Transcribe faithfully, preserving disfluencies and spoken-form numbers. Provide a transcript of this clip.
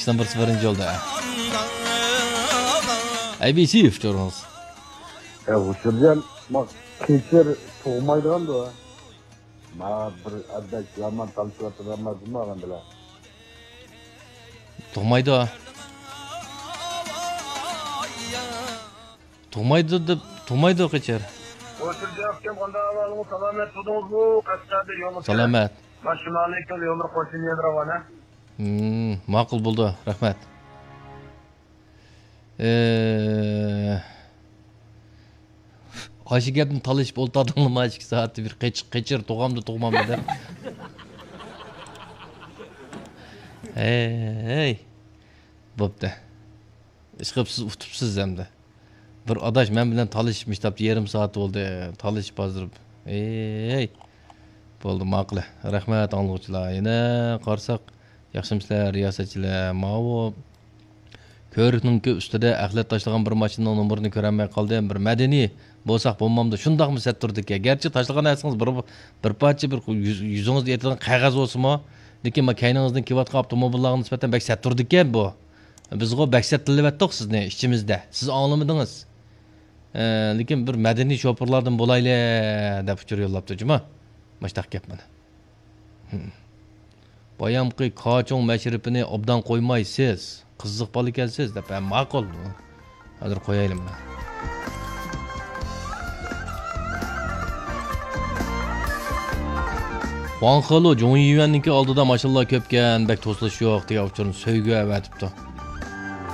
سەن بىرسى بىرىنچى يولدا. ئەي بىسىف تۇرۇڭىز. يا، ھۇشۇرجان، ما قېچىر تۇغمايدىغاندۇ. ما بىر ئەدەك يامان تالىشىۋاتىدىغان بىلەن. تۇغمايدۇ. تۇغمايدۇ دەپ، تۇغمايدۇ قېچىر. ھۇشۇرجان ئاكام، قانداق ئەھۋالىڭىز؟ سالامەت تۇردىڭىزمۇ؟ قەشقەردە يوللار. سالامەت. ماشىنا ئالىكەن، يوللار قوشۇن يەر راۋانە. ھىم، ماقۇل بولدى، رەھمەت. ئى، ئاشۇ گەپنى تالىشىپ ئولتۇردۇڭلارمۇ ئىككى سائەتتە بىر قېچىر، قېچىر تۇغامدۇ، تۇغمامدۇ دەپ. ھەي، ھەي. بوپتۇ. ئىشقىلىپ سىز ئۇتۇپسىز ئەمدى. بىر ئاداش مەن بىلەن تالىشىپ مۇشتاپتا يېرىم سائەت بولدى. تالىشىپ ھازىر. ئەي. بولدى، ماقۇل. رەھمەت ئاڭلىغۇچىلار. يەنە قارىساق، ياخشىمۇسىلەر، رىياسەتچىلەر؟ ماۋۇ كۆۋرۈكنىڭكى ئۈستىدە ئەخلەت تاشلىغان بىر ماشىنىنىڭ نومۇرىنى كۆرەلمەي قالدىم. بىر مەدەنىي بولساق بولمامدۇ؟ شۇنداقمۇ سەت تۇرىدىكەن. گەرچە تاشلىغان نەرسىڭىز بىر، بىر پارچە بىر يۈز-، يۈزىڭىزدە ئېتىلغان قەغەز بولسىمۇ، لېكىن ما كەينىڭىزدىن كېلىۋاتقان ئاپتوموبىللارغا نىسبەتەن بەك سەت تۇرىدىكەن بۇ. بىزغۇ بەك سەتلىۋەتتۇق سىزنى ئىچىمىزدە. سىز ئاڭلىمىدىڭىز. ئە، لېكىن بىر مەدەنىي شوپۇرلاردىن بولايلى دەپ ئۇچۇر يوللاپتۇ جۇما. ماشتاق گەپ مانا. ھىم. بايامقى كاچۇڭ مەشرىپىنى ئوبدان قويمايسىز. قىزىق بالا ئىكەنسىز دەپ. ھە، ماقۇل. ھازىر قويايلى مانا. خۇاڭخېلۇ جۇڭيۈەننىڭكى ئالدىدا ماشىنىلار كۆپكەن، بەك توسۇلۇش يوق دېگەن ئۇچۇرنى سۆيگۈ ئەۋەتىپتۇ.